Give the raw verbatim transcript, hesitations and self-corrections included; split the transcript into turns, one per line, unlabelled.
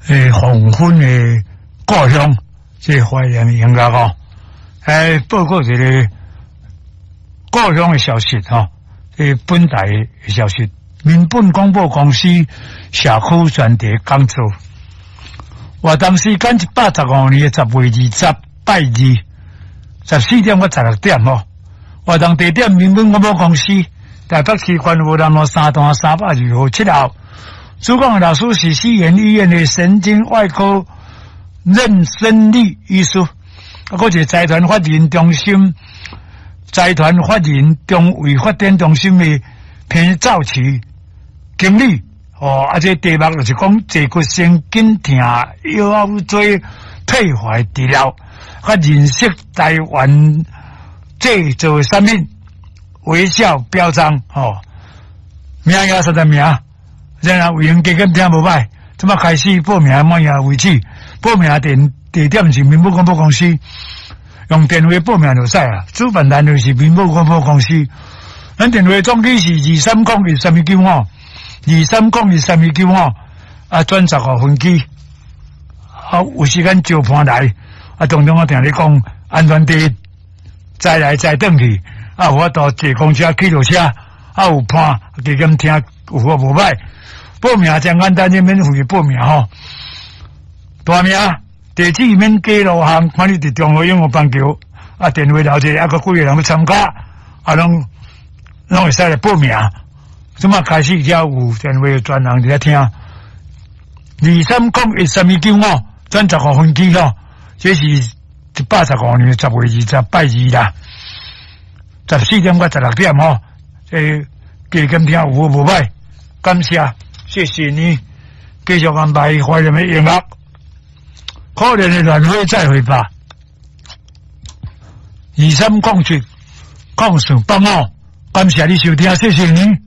誒黃昏的故鄉，這懷念的音樂哦。來報告一个故鄉的消息吼，這本台的消息，民本廣播公司社區專題講座，活動時間一百十五年的十月二十拜二，十四點到十六點吼。活動地點民本廣播公司台北市觀湖南路三段三百二號七號。主講的老師是西園醫院的神經外科任生利醫師，啊，閣一個財團法人中心，財團法人中衛發展中心的彭兆奇經理，哦，啊，這個題目就是講坐骨神經痛、腰椎退化治療，佮認識台灣製造產品微笑標章，吼，名額三十名。然後有閒加減聽無䆀，這馬開始報名滿額為止。報名電地點是民本廣播公司，用電話報名就使啊。主辦單位是民本廣播公司，咱電話總機是二三零一三一九五，二三零一三一九五，啊，轉十五分機，啊，有時間招伴來，啊，當中我定咧講安全第一，載來載轉去，啊，有法度坐公車、汽車，啊，有伴加減聽有好無䆀。報名真簡單，免費報名吼。大名、地址免加路項，看你佇中和永和板橋，啊，電話留者，啊，閣幾個人欲參加，啊，攏攏會使來報名。這馬開始才有電話專人佇遐聽。二三零一三一九五，轉十五分機吼，這是一百十五年十月二十拜二啦，十四點到十六點吼，這加減聽有好無䆀，感謝。謝謝你，繼續安排懷念的音樂，可憐的蘭花再會吧。二三零七零四八五，感謝你收聽，謝謝你。